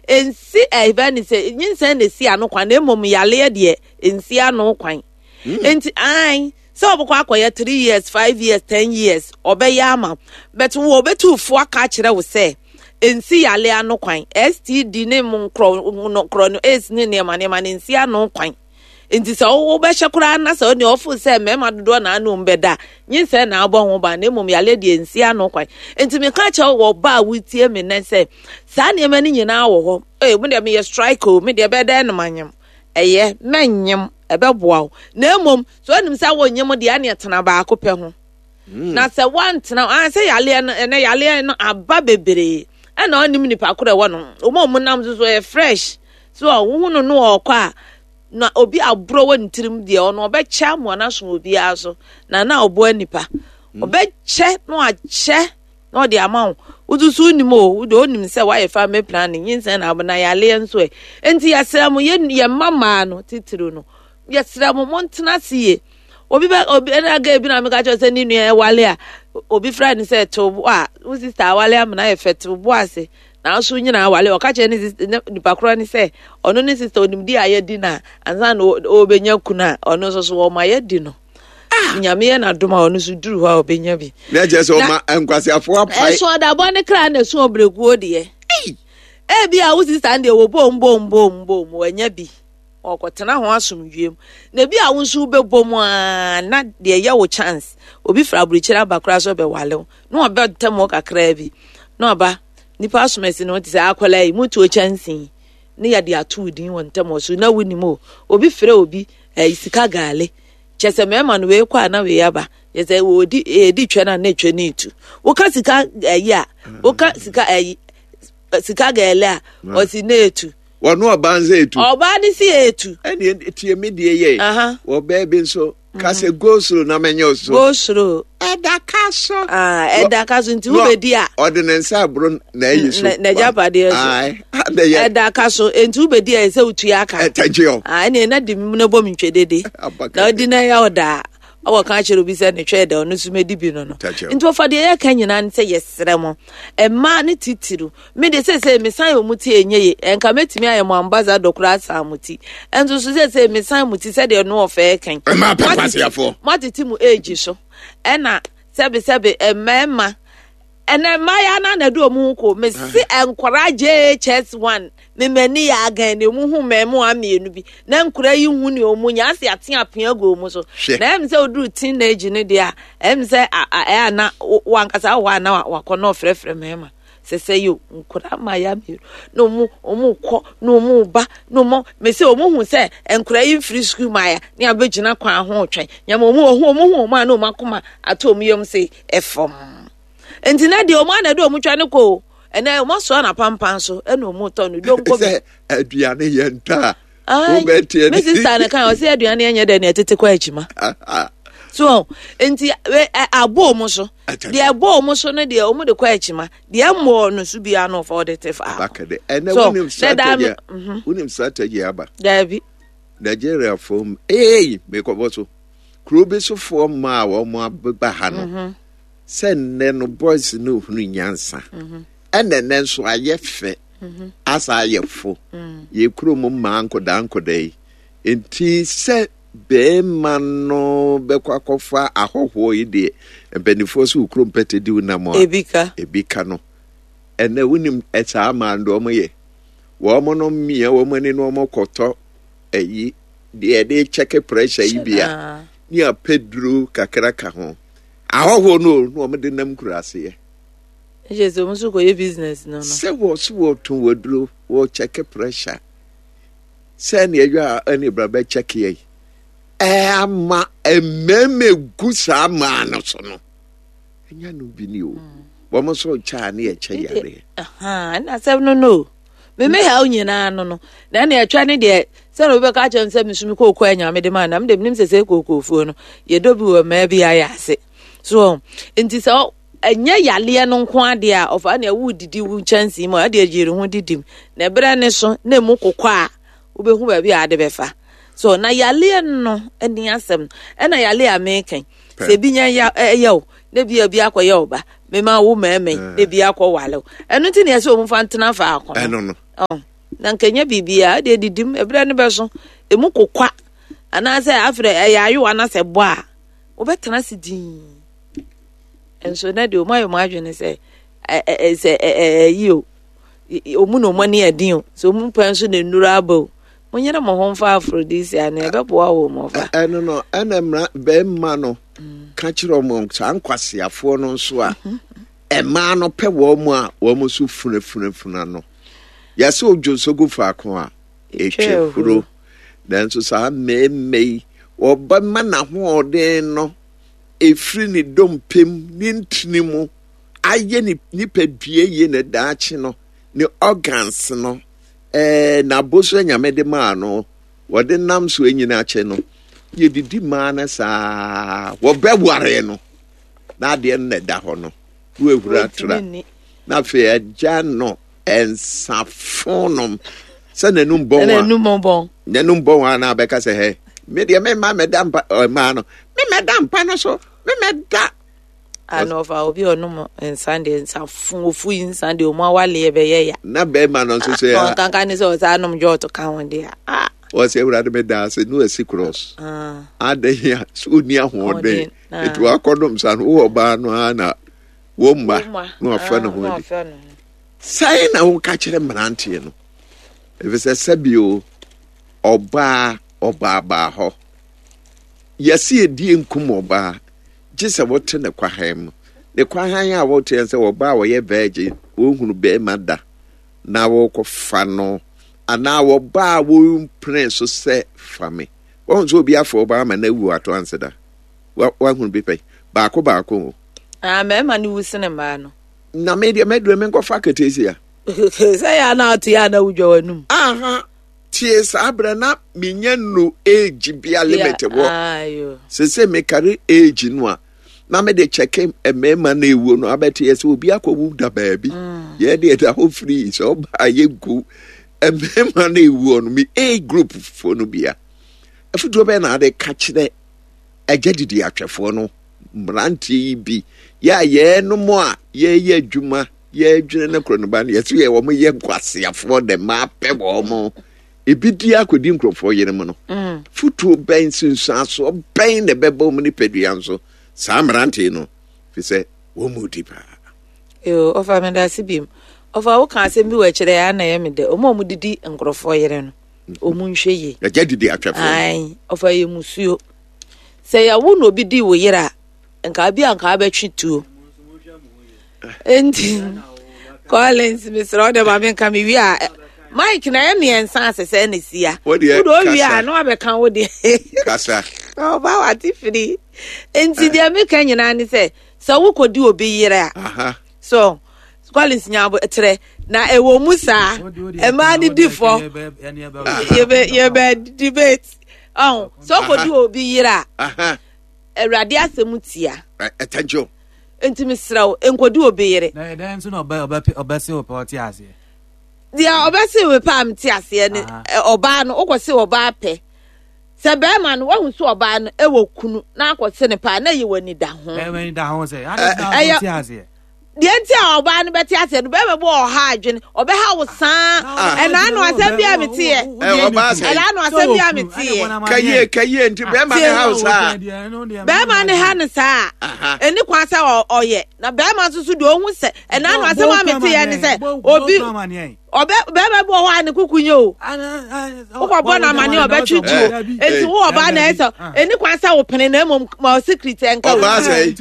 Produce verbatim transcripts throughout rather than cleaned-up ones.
Nsi ɛbɛ ne sɛ nyinsɛn na esi ano kwan, na mmom yaleɛ deɛ nsi ano kwan. Nti ae sɛ ɔbɛkɔ akɔyɛ three years, five years, ten years, ɔbɛyɛ ama, but wo ɔbɛtu fo aka akyerɛ wo sɛ nsi yale ano kwan. S T D ne mu nkorɔ nkorɔ no, AIDS ne nneɛma nneɛma ne nsi ano kwan. Nti sɛ wobɛhyɛ koraa na sɛ ɔne ɔfo sɛ mmarima dodoɔ na ano bɛda, nyinsɛn na abɔ ho ban, na mmom yale deɛ nsi ano kwan. Nti meka kyerɛ wɔ ɔba a wotie me nɛ sɛ saa nneɛma no nyinaa wɔ hɔ. Ee, mo deɛ meyɛ strike o, me deɛ bɛdɛn no manyem, ɛyɛ mɛnyem, ɛbɛboa wo. Na mmom sɛ onim sɛ wonyem deɛ, ɛne tena baako pɛ ho. Na sɛ woantena ah, sɛ yaleɛ no, ɛnɛ yaleɛ no aba bebree, ɛna ɔnim nipa korɔ ɛwɔ no, ɔmo a ɔmo nam so so ɛyɛ fresh so a wohu no no ɔkɔ a, na obi aborɔ wɔ ne tirim deɛ, ɔno ɔbɛkyɛ amoa no aso obiara so na na ɔboa nipa, ɔbɛkyɛ na wakyɛ na ɔde ama wo. Wotutu nim o, wode onim sɛ woayɛ family planning, nyinsɛn na abo na yaleɛ nso ɛ. Nti yɛsrɛ mo, yɛ yɛ mma mmaa no titiri no, yɛsrɛ mo, montena ase yie. Obi bɛ obi ɛna aga bi na meka kyerɛ sɛ ne nua ɛwale a, obi frɛ no sɛ tew bo a wo sister awale amena yɛ fɛ, tew bo ase nanso nyinaa awale. Ɔka kyerɛ ne sister ne nipa korɔ ne sɛ ɔno ne sister onim di a yɛdi na ansa na ɔbɛnya kunu a, ɔno nso so wɔma yɛdi no. Nyame yɛ n'adom a, ɔno nso duru hɔ a ɔbɛnya bi. Na kyerɛ sɛ ɔma nkwaseafoɔ apae. Ɛso ɔdabɔ ne kra na ɛso ɔbrɛkuo deɛ, ebi a wo sister deɛ wɔ bom bom bom bom wɔanya bi, ɔkɔtena ho asomdwie mu, na ebi a wo nso wobɛbɔ mu a, na deɛ ɛyɛ wo chance, obi fira aburukyire aba koraa so ɔbɛwale wo na ɔbɛtɛm hɔ kakraa bi na ɔba nipa asomasi no te sɛ akwadaa yi mutuo kyɛnsee ne yɛde ato wo din wɔ ntɛm wɔ so na wonim o. Obi frɛ obi ɛyi sika gaale kyɛ sɛ mmarima no wei kɔ a na wei aba, kyɛ sɛ wɔdi edi twɛ na ne twɛ ne etu woka sika ɛyi a, woka sika ɛyi sika gaale a, ɔsi ne etu. Wɔn ɔbaa nsa etu. Ɔbaa ne si etu. Ɛni tie mi deɛ yɛ. Ɔbaa bi nso kase go slow na mɛnyɛ o so. Go slow. Ɛda ka so. Ɛda ka so, nti wobɛdi a. Ɔde ne nsa aburo na ɛyi so. N'agyapadeɛ so. Ɛda ka so, nti wobɛdi a, ɛsɛ wotua aka. Ɛtɛgye o. Ɛnna ɛna di mu na bɔ mi ntwe dede. Na ɔdi na ɛyɛ ɔdaa ɔwɔ ka kyerɛ obi sɛ ne twɛ dɛ, ɔno nso mɛdi bi no no Nti wɔfa deɛ yɛka nyinaa ne sɛ yɛsrɛ mo, mmaa ne titiriw. Me de sɛsɛ mesan yɛ ɔmo ti ɛnyɛ ye, ɛnka mɛtumi ayɛ mo ambassador koraa asan mo ti. Ɛnso so sɛsɛ mesan mo ti sɛdeɛ no ɔfɛɛ kan. Mmaa pɛ kwasiafoɔ. Moatete mo age so, ɛna sɛbesɛbe mmarima ɛnɛ mmayewa no na de ɔmo ho kɔ. Mesi nkwaraa J H S one, memani yɛ agan ne ɔmo hu mmarima mmienu bi na nkwaraa yi hu ne ɔmo nya ase ate apea gu ɔmo so. Na ɛm sɛ oduru teenage no deɛ a, ɛm sɛ ɛyɛ ana wankasa wɔ hɔ a na wakɔ na ɔfrɛfrɛ mmarima sɛ sɛ yo nkwaraa mmayewa mmienu na ɔmo ɔmo kɔ na ɔmo ba na ɔmo mesi ɔmo hu sɛ nkwaraa yi mfiri sukuu maaya ne abɛgyina kwan ho twɛn nyama ɔmo ɔho ɔmo hu ɔmo a na ɔmo akoma ato ɔmo yam sɛ ɛfam. Nti na deɛ ɔmo ana de ɔmo twa ne kɔ o, ɛnɛ ɔmo asoa na pampan so ɛna ɔmo tɔ no donko bi. Sɛ aduane yɛ nta a wobɛteɛ. Me sister ne kan ɔsɛ aduane yɛ nyɛ dɛ na ɛtete kɔ akyima so. Nti abɔ ɔmo so deɛ, ɛbɔ ɔmo so no deɛ, ɔmo de kɔ akyima deɛ, ɛmmɔ no so bia no ɔfa ɔde te fa. Ɛnɛ wonim strategy, wonim strategy aba. Daabi. Nigeria fo ee, mekɔbɔ so kuro bi sofoɔ mmaa a wɔn abeba ha no mhm. sɛ nnɛ no boys no hunu nyansa, mhm. ɛnna nnɛ nso ayɛ fɛ mhm. asa ayɛ fo mm. Yɛ kurom mmaa nkɔdaa nkɔdaa yi nti sɛ bɛrima no bɛkɔ akɔfa ahɔhoɔ yi deɛ, mpanimfoɔ so wɔ kurom pɛtɛ di wo nam a ebi ka. Ebi ka no. Ɛnɛ wonim ɛsaa maa no deɛ wɔn yɛ, wɔn no mmea wɔn ani na wɔn kɔtɔ ɛyi deɛ yɛde check pressure yi bi a ne apɛ duro kakra ka ho, ahɔhoɔ no na wɔn de nam kura aseɛ. Ɛhyɛ sɛ wɔn nso kɔyɛ business no no. Sɛ wɔ so wɔtɔn waduro, wɔ check pressure sɛ ɛne ɛyɛ a ɛne bra bɛ check yɛ ɛɛ ama mmarima gu saa maa no so no, ɛnya no bi ni o mm. Wɔn nso kyɛ a ne yɛ kyɛ yareɛ. Ɛna asɛm no no meme haw nyinaa no no na ɛna ɛtwa ne deɛ sɛ na obi bɛka kyerɛ m sɛ mesumi kooko anya mede ma na mede menim sɛ sɛ kookoofuo no yɛdɔ bi wɔ mmaa bi ayɛ ase so. Nti sɛ ɛnyɛ yaleɛ no nko adeɛ a ɔfa ne ɛwo didi wo nkyɛnsee mu a, ɛde agyere ho didi mu na ɛberɛ ne so na emu kokɔ a, wobɛhu baabi a ade bɛfa so. Na yaleɛ no ani asɛm, ɛna yaleɛ a mekan sɛ ebi nya ya ɛyɛ o, na bi ebi akɔyɛ o ba mema wo mɛɛmɛ na ebi akɔ wale o, ɛno nti na yɛsɛ wɔn fa ntena faako. Ɛno no. Na nka nya biribiara de didim ɛberɛ no bɛso emu kokwa anaasɛ afrɛ ɛyɛ ayowa na sɛ bɔ a wobɛtena ase din. Nso na deɛ ɔmo ayɛ ɔmo adwene sɛ sɛ ɛyi o, ɔmu na ɔmo ani ɛden o, sɛ ɔmu pɛ nso na nnuro aba o, monyere mo ho mfa aphrodisiac na ɛbɛboa wɔ mo fa. Ɛno no ɛna mmara bɛrima no ka kyerɛ ɔmo saa nkwaseafoɔ no nso a mmaa no pɛ wɔn mu a wɔn nso funafunafuna no. Yɛsɛ odwo nso gu faako a etwa huro, nanso saa mmarima yi wɔbɛma n'ahoɔden no efiri ne dompem ne ntini mu ayɛ ne nipadua yie ne daakye no ne organs no ɛɛ n'aboso Nyame de maa no wɔde nam so enyina akyɛ no yɛdidi maa no saa wɔbɛware no na adeɛ no na ɛda hɔ no wɔahura atra na afei agya no ɛnsafo nom sɛ n'anum bɔn a n'anum bɔn a na abɛka sɛ hɛ me deɛ me mma mɛda mpa mmaa no me mɛda mpa no so me mɛda. Ana ɔfa obi ɔnom nsa deɛ nsafo ofu yi nsa deɛ ɔmo awaleɛ bɛyɛ ya. Na bɛrima no nso sɛ. Ɔnkankan ne sɛ ɔsan nom jɔɔto ka ho deɛ. Ɔsɛ Awurade mɛda ase no asi cross. Adan a so oni ahoɔden etu akɔdom sa no wɔ ɔbaa no ara na wɔn mma na wafa ne ho adi. Sɛn na woka kyerɛ mmeranteɛ no efisɛ sɛbio ɔbaa ɔbaa baa hɔ yɛsi edie nkum ɔbaa gye sɛ wote ne kwahan mu ne kwahan a wote sɛ ɔbaa wɔyɛ virgin wɔhunu bɛrima da na wɔkɔfa no anaa ɔbaa wɔmpene so sɛ fa me wɔn nso obi afɔ ɔbaa ma na ewu ato anse da wahunu bi pɛ baako baako o. Ah, mmarima no wu sene mmaa no. Na me deɛ mɛdure me nkɔfa ketesia. Sɛ yɛ ana ate yɛ ana wodwa w'anum. Aha tie saa berɛ na menya no age bia limit wɔ. Sese mekare age no a na mede kyɛke mmarima no ewuo no abɛte yɛ sɛ obi akɔwu da baabi. Yɛ deɛ da hɔ firi sɛ ɔbaa yɛ nku mmarima no ewuo no me age group foɔ no bia. Afutuo bɛyɛ na ade ka kyerɛ agya didi atwɛfoɔ no mmeranteɛ yi bi yɛ a yɛnom a yɛyɛ adwuma yɛdwene no korɔ no ba no yɛso yɛ wɔn yɛ nkwaseafoɔ dɛ mmaa pɛ wɔn ebi di akɔdi nkurɔfoɔ yere mu no futuo bɛn sunsuasoɔ bɛn na ɛbɛbɔ wɔn nipadua nso saa mmeranteɛ no fi sɛ wɔn mu di paa. Yoo ɔfa mi da ase bi mu ɔfa woka asɛm bi wɔ akyerɛ yɛ ana yɛ mi dɛ wɔn a wɔn didi nkurɔfoɔ yere no wɔn nhwɛ yie. Ɛgya didi atwɛfoɔ. Ayi ɔfa yɛ musuo sɛ yɛwo na obi di wo yere a nka bi a nka abɛtwe tuo. Enti Collins mesrɛ wo dɛ ma menka me wie a Mike na yɛ mmiɛnsa ase sɛ ne sia wode owie a na wabɛka wo deɛ kasa ɔba wate firi. Enti deɛ meka nyinaa ne sɛ sɛ wokɔdi obi yere a so Collins nya kyerɛ na ɛwɔ mu saa mmaa ne di fɔ yɛbɛ yɛbɛ debate ɔn sɛ wokɔdi obi yere a Awurade asɛm tia. Attention. Enti mesrɛ wo nkɔdi obi yere. Na ɛdɛn nso na ɔbɛ ɔbɛ ɔbɛse wo pɛ ɔte aseɛ. Deɛ ɔbɛse wo pɛ a mete aseɛ ne ɔbaa no wokɔse ɔbaa pɛ sɛ bɛrima no wahu sɛ ɔbaa no ɛwɔ kunu na akɔse ne pɛ a na ɛyɛ w'ani da ho. Ɛyɛ w'ani da ho sɛ ade na ɔte aseɛ. Deɛ nti a ɔbaa no bɛte aseɛ no bɛrima bi wɔ ɔha adwene ɔbɛha wo saa ɛna ano asɛm bi a meteɛ ɛna ano asɛm bi a meteɛ kaye kaye nti bɛrima ne ha wo saa bɛrima ne ha no saa ɛni kwan sɛ ɔyɛ na bɛrima nso so deɛ ɔhu sɛ ɛna ano asɛm a meteɛ ne sɛ obi ɔbɛ bɛrima bi wɔ hɔ a ne kuku nye o wokɔbɔ no amane ɔbɛtwe tuo enti wo ɔbaa na ɛsɛ ɛni kwan sɛ wo pene na mmom ma ɔsekret ɛnka wo ɔbaa sɛ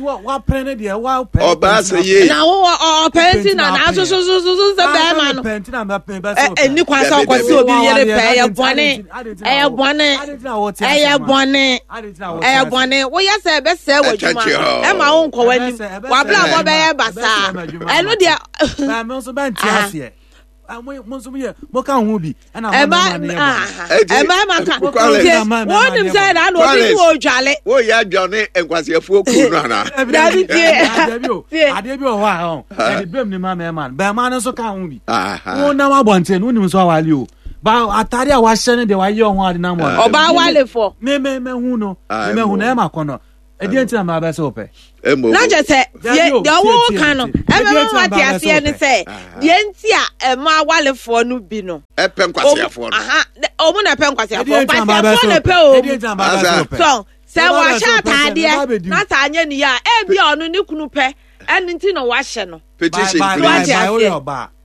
ɔbaa sɛ yie na wo ɔpɛ nti na na so so so so sɛ bɛrima no ɛni kwan sɛ ɔkɔ sɛ obi yere pɛ ɛyɛ bɔne ɛyɛ bɔne ɛyɛ bɔne ɛyɛ bɔne woyɛ sɛ ɛbɛsɛ wɔ adwuma ɛma wo nkɔ w'anim wabla bɔ bɛyɛ basaa ɛno deɛ mo ka ho bi ɛna mo ma ne yɛ bɔ ɛma ma ka wɔn nim sɛ ɛna na obi wɔ odwale wo yɛ adwane nkwasiafoɔ kuru no ana dabi tie tie adeɛ bi wɔ hɔ a ɔn ɛde bɛm ne ma mɛma no bɛrima no nso ka ho bi wɔn nam abɔnten no wonim nso awale o ba atade a wahyɛ no deɛ wayɛ ɔho ade nam wɔ ɔbaa wale fɔ me me me hu no me me hu no ɛma kɔ no Ɛdeɛ nti na maa bɛ sɛ ɔpɛ. Na kyerɛ sɛ deɛ ɔwɔ ka no ɛbɛma ma te aseɛ ne sɛ deɛ nti a ɛma awalefoɔ no bi no. Ɛpɛ nkwasiafoɔ no. Ɔmo na ɛpɛ nkwasiafoɔ nkwasiafoɔ na ɛpɛ o. So sɛ wahyɛ ataadeɛ na sɛ anyɛ ne yie a ebi a ɔno ne kunu pɛ ɛne nti na wahyɛ no. Petition please.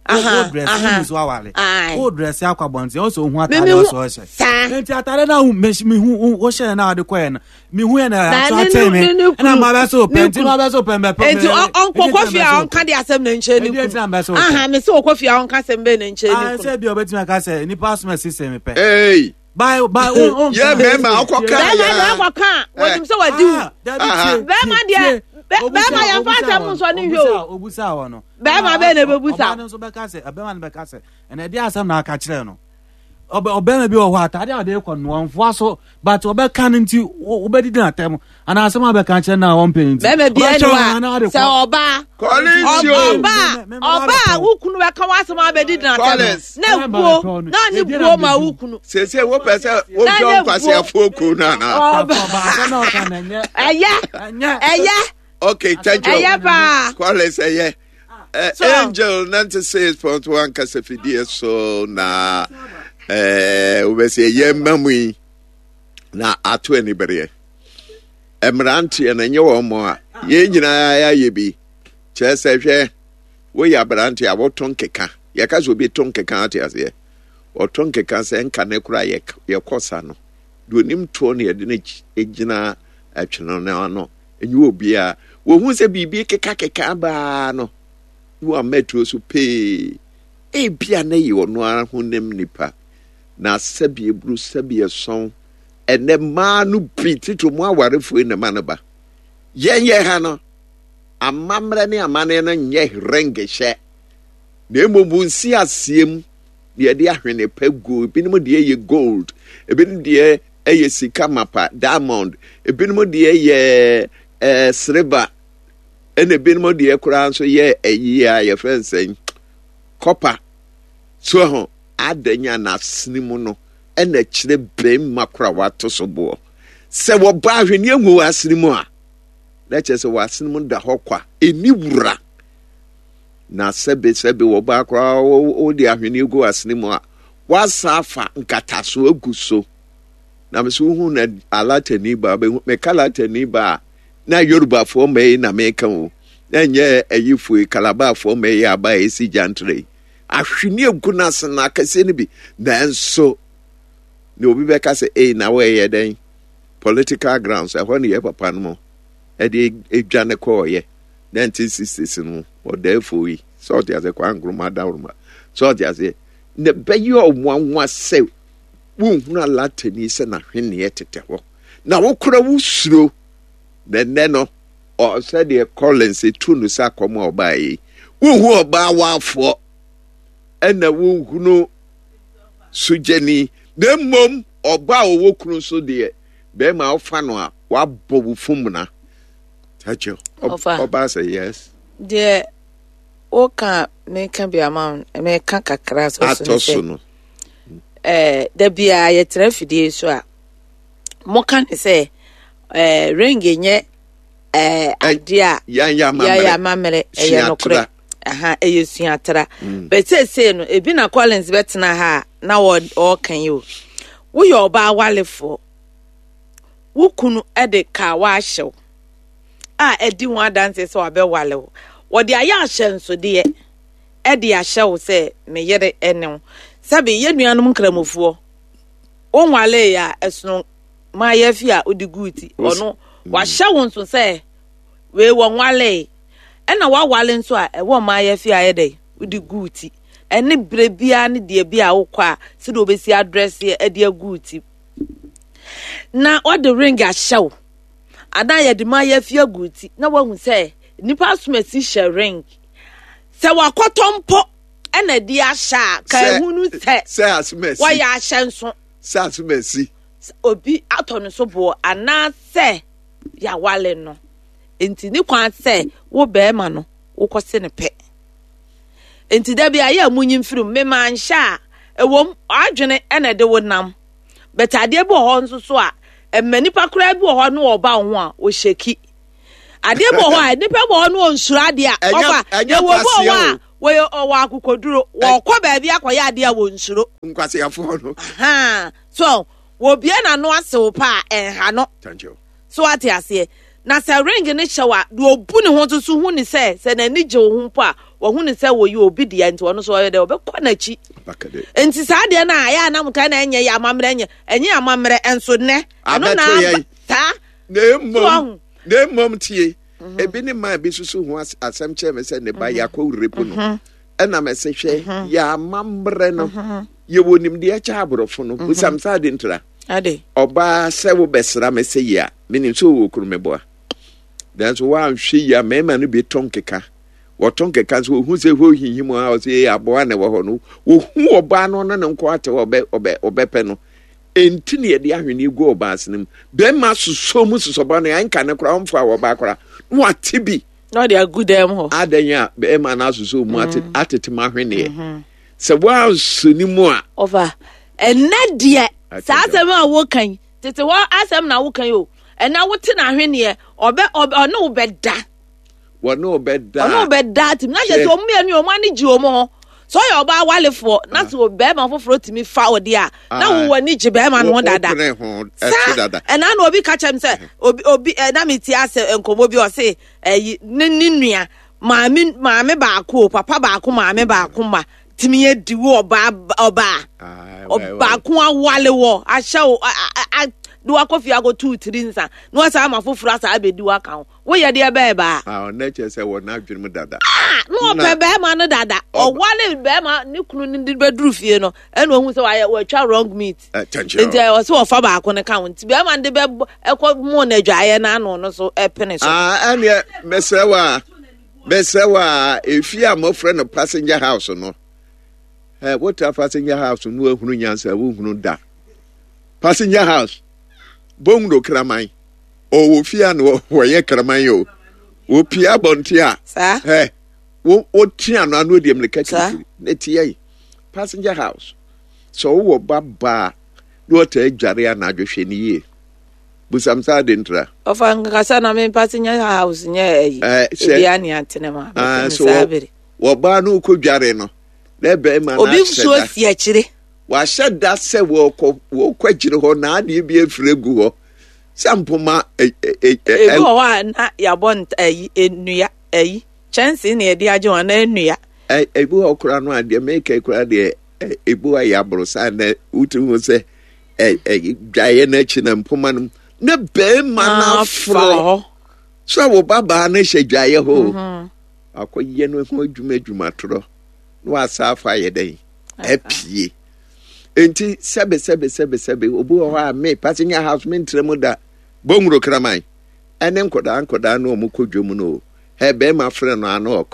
O dress o so awale o dress akɔ abɔnten o so ohun ataade o so ɔhyɛ nti ataade na mi hu o hyɛ na ɔde kɔ yɛ no mi hu yɛ na ato atɛ mi ɛna maa bɛ so pɛ nti maa bɛ so pɛ mbɛ pɛ. Nti ɔnkɔ kɔfi a ɔnka de asɛm na nkyɛn ne kunu aha mi sɛ ɔkɔfi a ɔnka asɛm bɛ na nkyɛn ne kunu. Sɛ bi ɔbɛtumi aka sɛ nipa asoma sisi mi pɛ. Ee. Bye bye o o. Yɛ mɛma ɔkɔ kan ya. Bɛɛma ɔkɔ kan wɔnim sɛ wadi wu. Bɛɛma deɛ bɛɛma yɛn fa asɛm nsɔ ne hwɛ o. Obusa wɔ no. Bɛɛma bɛɛ na ebebusa. Ɔbaa no nso bɛka sɛ ɔbɛɛma no bɛka sɛ ɛna ɛde asɛm na aka kyerɛ no. Ɔbɛɛma bi wɔ hɔ ataade a ɔde kɔ no ɔnfoa so but ɔbɛka no nti wobɛdidi n'atɛm anaa asɛm a bɛka kyerɛ no a ɔmpɛ no nti. Bɛɛma bi ɛni wa sɛ ɔbaa ɔbaa ɔbaa wo kunu bɛka w'asɛm a bɛdidi n'atɛm na buo na ne buo ma wo kunu. Sese wopɛ sɛ wodɔ nkwasiafoɔ kuo no anaa. Ɛyɛ ɛyɛ. Okay, thank you. Ɛyɛ paa. Collins ɛyɛ. Uh, so, Angel ninety-six point one kasafidie so na wobɛsɛ ɛyɛ mma mu yi na ato anibereɛ mmeranteɛ no ɛnyɛ wɔn mɔ a yɛn nyinaa yɛayɛ bi kyerɛ sɛ hwɛ woyɛ aberanteɛ a woto nkeka yɛka sɛ obi to nkeka ate aseɛ ɔto nkeka sɛ nka ne kora yɛkɔ sa no deɛ onim toɔ no yɛde no gyina atwene no ano ɛnyɛ obiara wɔhu sɛ biribi kekakeka baa no na wama atuo so pee ebia na yɛ ɔno ara honam nipa na sɛbi eburu sɛbi ɛsɔn ɛnɛ mmaa no bi titiri mu awarefoɔ yi na ma no ba yɛn yɛ ha no amammerɛ ne amanneɛ no nyɛ rengehyɛ na mmom nsi aseɛ mu na yɛde ahwene pa gu ebinom deɛ yɛ gold ebinom deɛ ɛyɛ sika mapa diamond ebinom deɛ yɛ ɛɛ sreba ɛna ebinom deɛ koraa nso yɛ ɛyi a yɛfrɛ nsɛn kɔpa so ho adanya n'asene mu no ɛna kyerɛ bɛrima kora wato so boɔ sɛ wɔba ahweneɛ ngu w'asene mu a na kyerɛ sɛ w'asene mu da hɔ kwa ɛni wura na sɛbe sɛbe wɔba koraa wode ahweneɛ gu w'asene mu a wasa afa nkataso agu so na me so wohu na alatani ba meka alatani ba a na Yorubafoɔ mma yi na meka o na nyɛ ayifoɔ yi Kalabafoɔ mma yi aba a ɛsi gyantere yi ahweneɛ gu no ase no akɛseɛ no bi nanso na obi bɛka sɛ ei na wɔyɛ dɛn political grounds ɛhɔ ne yɛ papa no mu ɛde edwane kɔɔyɛ nineteen sixties no ɔdɛɛfoɔ yi sɛ ɔte aseɛ Kwame Nkrumah dawuruma sɛ ɔte aseɛ na bɛyɛ ɔnwanwa sɛ wonhunu alatani sɛ n'ahweneɛ tetɛ hɔ na wokora wosuro na nnɛ no sɛdeɛ Collins tu no sɛ akɔm a ɔbaa yi wohu ɔbaa waafoɔ ɛna wohunu sogyani na mmom ɔbaa a ɔwɔ kunu so deɛ bɛrima a ɔfa no a wabɔ wo fumuna takyɛ ɔbaa sɛ yes deɛ woka meka bi ama meka kakra so atɔ so no eh da bia yɛtena fidie so a moka ne sɛ eh ring nyɛ eh ade a yɛayɛ amammerɛ ɛyɛ nokorɛ aha ɛyɛ suatra but seesei no ebi na Collins bɛtena ha a na ɔɔka yi o woyɛ ɔbaa walefoɔ wo kunu de ka waahyɛw a ɛdi ho adanse sɛ wabɛwale wo wɔde ayɛ ahyɛnsodeɛ ɛde ahyɛ wo sɛ meyere ɛne wo sɛbe yɛ nuanom nkramofoɔ wonwale ya ɛsono maayɛ fi a wode guu ti ɔno wahyɛ wo nso sɛ wei wɔnwale ɛna wawale nso a ɛwɔ maayɛ fi a yɛ dɛ wode guu ti ɛne berɛ biara ne deɛ bi a wokɔ a sɛdeɛ wobɛsi adrɛseɛ ɛde agu ti na wɔde ring ahyɛ wo anaa yɛde maayɛ fi agu ti na wahu sɛ nipa asomasi hyɛ ring sɛ wakɔtɔ mpo ɛna di ahyɛ a ka ehunu sɛ sɛ asomasi wɔyɛ ahyɛ nso sɛ asomasi obi atɔ no so boɔ anaasɛ yɛawale no nti ne kwan sɛ wo bɛrima no wokɔse ne pɛ nti da bi a yɛ munyi mfirim mema nhyɛ a ɛwom adwene ɛna de wo nam but adeɛ bi wɔ hɔ nso so a Ɛmma nipa koraa bi wɔ hɔ no ɔba wo ho a ɔhyɛki. Adeɛ bi wɔ hɔ a nipa bi wɔ hɔ no ɔnsuro adeɛ a ɔfa. Yɛwɔ bi wɔ hɔ a wɔyɛ ɔwɔ akokoduro, wɔkɔ baabi akɔyɛ adeɛ a wɔnsuro. Nkwaseafoɔ no. So wɔbie n'ano asew pa a ɛnha no. So ate aseɛ? Na sɛ ring no hyɛ wo a, deɛ ɔbu ne ho nso so hu ne sɛ sɛ n'ani gye wo ho mpo a, wahu ne sɛ wɔyɛ obi deɛ, nti ɔno nso ɔyɛ dɛ ɔbɛkɔ n'akyi. Nti saa deɛ no a ɛyɛ a na motaa na ɛnyɛ yɛ amammerɛ, ɛnyɛ ɛnyɛ amammerɛ nso nnɛ ɛno na aba saa. Na mmom na mmom tie, mhm. ebi ne maa bi susu ho asɛm kyerɛ me sɛ ne ba mhm. yɛakɔ rape no, mhm. ɛna mɛsɛ hwɛ, yɛ amammerɛ no, yɛwɔ nimdeɛ kyɛ aborɔfo no. Busam sɛ ade ntra ɔbaa sɛ wobɛsra me sɛ yi a, menim sɛ ɔwɔ kunu, meboa, nanso woanhwɛ yi a, mmarima no bi tɔ nkeka, wɔtɔ nkeka nso wɔhu sɛ hɔ hinhim a ɔsɛ yɛ aboa na ɛwɔ hɔ no, wɔhu ɔbaa no ɔno ne nko ate hɔ, ɔbɛ ɔbɛ ɔbɛpɛ no. Enti na yɛde ahweneɛ gu ɔbaa asene mu, bɛrima sosɔ mu sosɔba no ɛnka ne koraa ɔmfa wɔ ɔbaa koraa na wate bi na ɔde agu dan mu hɔ. Adan a bɛrima no asosɔ mu ate mm. atete mu ahweneɛ mm-hmm. Sɛ woansɔ ne mu a. Ɔfa ɛnɛ deɛ, saa asɛm a woka yi, tete hɔ asɛm na woka yi o. Ɛnɛ wote n'ahweneɛ, ɔbɛ ɔbɛ ɔne wo bɛda. Wɔne wo bɛda. Ɔne wo bɛda tumi na kyerɛ sɛ ɔmo mmienu ɔmo ani gye ɔmo ho. Sɛ ɔyɛ ɔbaa walefoɔ na sɛ bɛrima foforɔ tumi fa ɔde a, na wo w'ani gye bɛrima no ho dada. Saa ɛna na obi ka kyerɛ m sɛ obi obi ɛna mi ti asɛ nkɔmɔ bi, ɔse ɛyi ne ne nua maame, maame baako o, papa baako, maame baako ma tumi yɛ di wo ɔbaa ɔbaa ɔbaako awale wɔ ahyɛ wo a de wakɔ fie akɔtu tiri nsa na wasa ama foforɔ asa abɛdi waka ho, woyɛ deɛ bɛɛ baa. Ah, ɔnɛ kyerɛ sɛ wɔ n'adwene mu dada. Ah, na ɔpɛ bɛrima no dada, ɔwale bɛrima ne kunu no de bɛduru fie no, ɛna ohun sɛ wayɛ wɔatwa wrong meat. Nti ɔsɛ wɔfa baako no ka ho, nti bɛrima no de bɛ ɛkɔ mu na adwaeɛ n'ano no so ɛpene so. Ah, ɛneɛ mesrɛ wa mesrɛ wa efie a mɔfrɛ no passenger house no, ɛ wotra passenger house no, ehunu nyansa wohunu da passenger house bongro kraman ɔwɔ fie a na wɔyɛ kraman o, wɔpie abɔnten a ɛ wɔte ano ano deɛ mmirika kirikiri na ti yɛ passenger house. Sɛ wowɔ ba baa na wɔtaa adware anadwo, hwɛ ne yie, busam saa de ntra. Ɔfa nkasa na me passenger house nyɛ ayi ebi ani atene ma saa bere. Wɔbaa no kɔ dware no na bɛrima no obi nsuo si akyire. Wahyɛ da sɛ wɔkɔ wɔkɔ akyire hɔ na adeɛ bi afiri agu hɔ sɛ mpoma. Ebi wɔ hɔ a na yɛabɔ ayi nnua, ayi kyɛnsee na yɛde agye wɔn anaa nnua. Ebi wɔ koraa no adeɛ meka koraa deɛ, ebi wɔ yɛ aborosan na wotumi hu sɛ dwaeɛ no akyi na mpoma no na bɛrima no aforɔ so a wo babaa no hyɛ dwaeɛ hɔ, mhm. akɔyɛ no ho adwuma adwuma torɔ na wasa afa ayɛ dɛn apue. Nti sɛbe sɛbe sɛbe sɛbe, obi wɔ hɔ a me passenger house me ntrɛ mu da bɔnwuro kraman ɛne nkɔdaa nkɔdaa no ɔmo kɔ dwom no o, ɛ bɛrima frɛ no ano ɔkɔ.